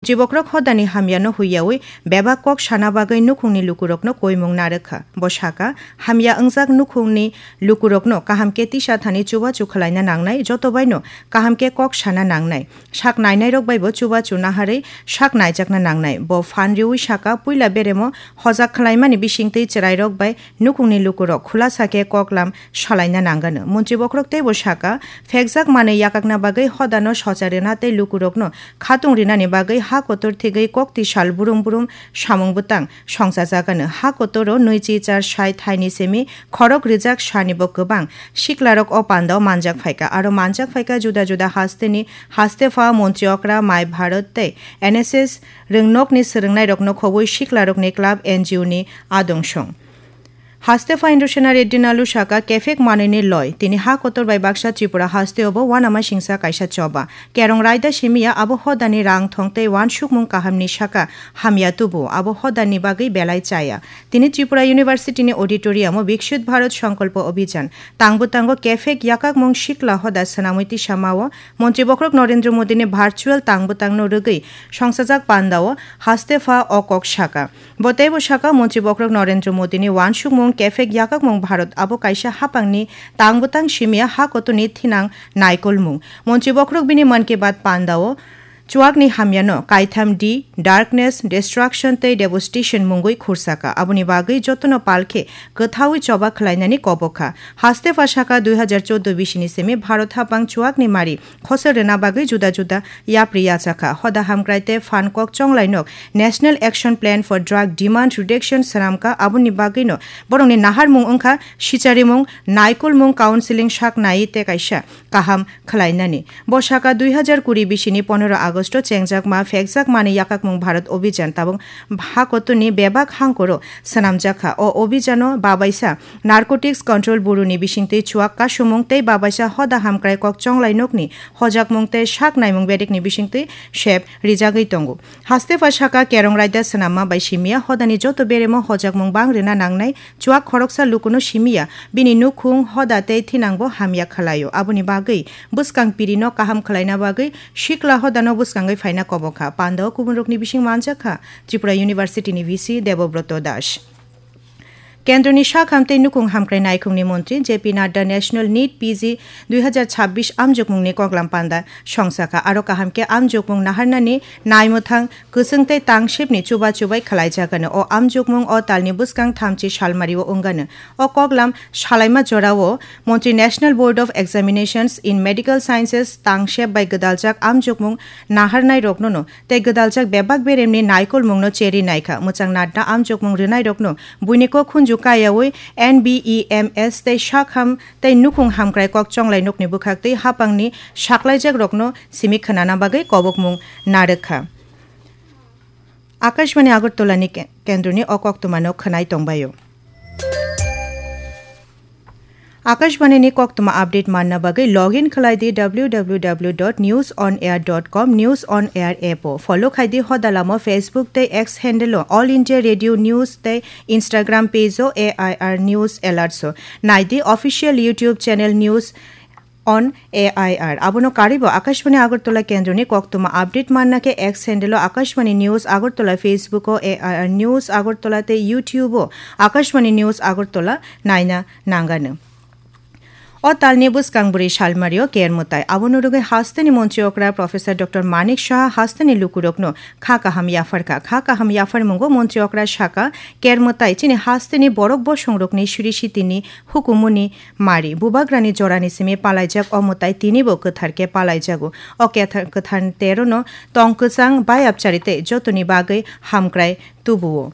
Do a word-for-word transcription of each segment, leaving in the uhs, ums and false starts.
Chibokrok hodani hamyano huiyawi bebak kok sana bagwi nukhungni lukurokno koimung narwkha. Bo sakha, hamya wngjak nukhungni lukurokno kaham khe tisa thani chubachu khwlaina nangnai, joto baino kaham khe kok sana nangnai. Sak nainairok baibo chubachu naharwi sak naijakna nangnai. Bo phan riwi sakha, puila beremo hojak khwlaimani bisingtwi chwrairok bai nukhungni lukurok khulasa khe koklam salaina nangano. Montri bokhorok teibo sakha, phekjak manwi yakakna bagwi hodano socha rwna tei lukurokno khatung rinani bagwi ha kotor thigwi kokti sal burum burum samung bwtang songchajagano. Ha kotoro nwichi char sai thaini simi khorok rijak sanibo kwbang siklarok o pandao manjak phaikha. Aro manjak phaikha juda juda hasteni, haste pha, montri okra, mai bharot tei N S S rwngnokni swrwngnairokno khobwi siklarokni club N G O ni adongshong. Haste pha Indrasena Reddy Nalu sakha, kephek manwini loi. Tini ha kotor bai baksa Tripura hasteo bo uanama singsa kaisa choba. Kerong raida simiya abo hodani rang thong tei uansukmung kahamni sakha hamya tubu, abo hodani bagwi belai chaya. Tini Tripura University ni auditorium o Viksit Bharat Sankalpa Abhijan, tangbo tango kephek yakakmung sikla hoda swnamwi tisamao Montri bokhorok Narendra Modi ni virtual tangbo tangno rwgwi songsajak pandao haste pha o kok sakha. Bo teibo sakha, Montri bokhorok Narendra Modi ni uansukmung kephek yakakmung Bharat abo kaisa hapangni tang bwtang simiya ha kotorni thinang naikolmung. Montri bokhorok bini Mann Ki Baat pandao chuakni hamyano kaitham D, darkness, destruction tei devastation mungwi khursakha. Aboni bagwi jotono palkhe kwthaui choba khwlainani kobokha. Haste pha sakha, dui hazar chordo bisini simi Bharat hapang chuakni mari khosor rwna bagwi juda juda yapri yachakha. Hoda hamkrai tei phan kok chonglainok National Action Plan for Drug Demand Reduction swnamkha, aboni bagwino borokni naharmung wngkha sicharimung, naikolmung, counseling sak nai tei kaisa kaham khwlainani. Bo sakha, dui hazar kuri bisini pondro Agosto chengjakma phekjakmani yakakmung Bharat Abhijan tabuk ha kotorni bebak hangkoro swnamjakha. O abhijano babaisa Narcotics Control Bureau ni bisingtwi chuak kasumung tei babaisa hoda hamkrai kok chonglai nokni hojakmung tei sak naimung bedekni bisingtwi sep rijagwi tongo. Haste pha sakha, kerong raida swnamma bai simiya hodani joto beremo hojakmung bang rwna nangnai, chuak khoroksa lukuno simiya, bini nukhung, hoda tei thinangbo hamya khwlaio. Aboni bagwi bwskang pirino kaham khwlaina bagwi sikla hodano bwskangwi phaina kobokha. Pandao kubunrokni bising manjakha Tripura University ni V C Debobroto Das. Kendroni sak ham tei nukhung hamkrai naikhungni montri J P Nadda National NEET P G dui hazar chabbish amjokmungni koklam panda songsakha. Aro kaham khe amjokmung naharnani naimwthang kwchwng tei tangsepni chuba chubai khwlaijagano. O amjokmung o talni bwskang thamchi salmario wngano. O koklam salaima jorao montri National Board of Examinations in Medical Sciences tangsep bai gwdaljak amjokmung naharnairoknono tei gwdaljak bebak beremni naikolmungno cheri naikha. Mwchang Nadda amjokmung rwnairokno buini kok khunju kayaui N B E M S tei sak ham tei nukhung hamkrai kok chonglai nokni bwkhaktwi hapangni saklaijakrokno simi khwnana bagwi kobokmung narwkha. Akashbani Agartala ni ke-, kendroni o koktwmano khwnai tongbaio. Akashbani ni koktwma update manna bagwi log in khlai di W W W dot news on air dot com, News on Air app o. Follow khai di hoda lama Facebook tei X handle o All India Radio News tei Instagram page o A I R News Alerts o. Nai di official YouTube channel News on A I R. Abono karwi bo Akashbani Agartala kendroni koktwma update manna khe X handle o Akashbani News Agartala, Facebook o A I R News Agartala tei YouTube o Akashbani News Agartala naina nangano. O talni bwskang bwrwi salmario ker mwtai. Abono rwgwi hasteni montri okra Professor Doctor Manik Saha hasteni lukurokno kha kaham yapharkha. Kha kaham yapharmungo montri okra sakha, ker mwtai chini hasteni borok bosongrokni siri sitini hukumuni mari. Bubagrani jorani simi palaijak o mwtai tinibo kwthar khe palaijago. O ketha-, kwthar terono tong kwchang bayapchari tei jotoni bagwi hamkrai tubuo.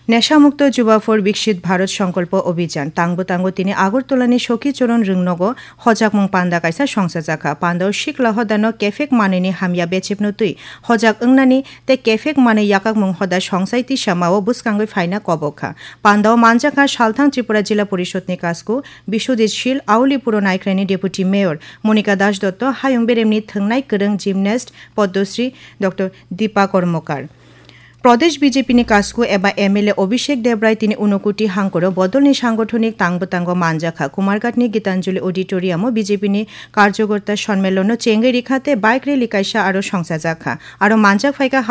Nesha Mukto Juba for Viksit Bharat Sankalpa Abhijan. Tangbo tango tini Agartala ni Sokhi Choron Rwngnogo hojakmung panda kaisa songchajakha. Pandao sikla hodano kephek manwini hamya bechepno twi hojak wngnani tei kephek manwi yakakmung hoda songsai tisamao bwskangwi phaina kobokha. Pandao manjakha salthang Tripura Jila Porishod ni kasku Biswajit Shil, Auli Puro Naikrani Deputy Mayor Monika Das Dotto, Hayung Beremni thwngnai kwrwng gymnast Padmasri Doctor Deepa Karmakar. Pradesh B J P ni kasku eba M L A Abhishek Debrai tini Unakoti hangkoro bodolni sangothonik tangbo tango manjakha. Kumarghat ni Gitanjali Auditorium o B J P ni karjokorta sonmelon no chengwi rikha tei bike rally kaisa aro songchajakha. Aro manjak phaikha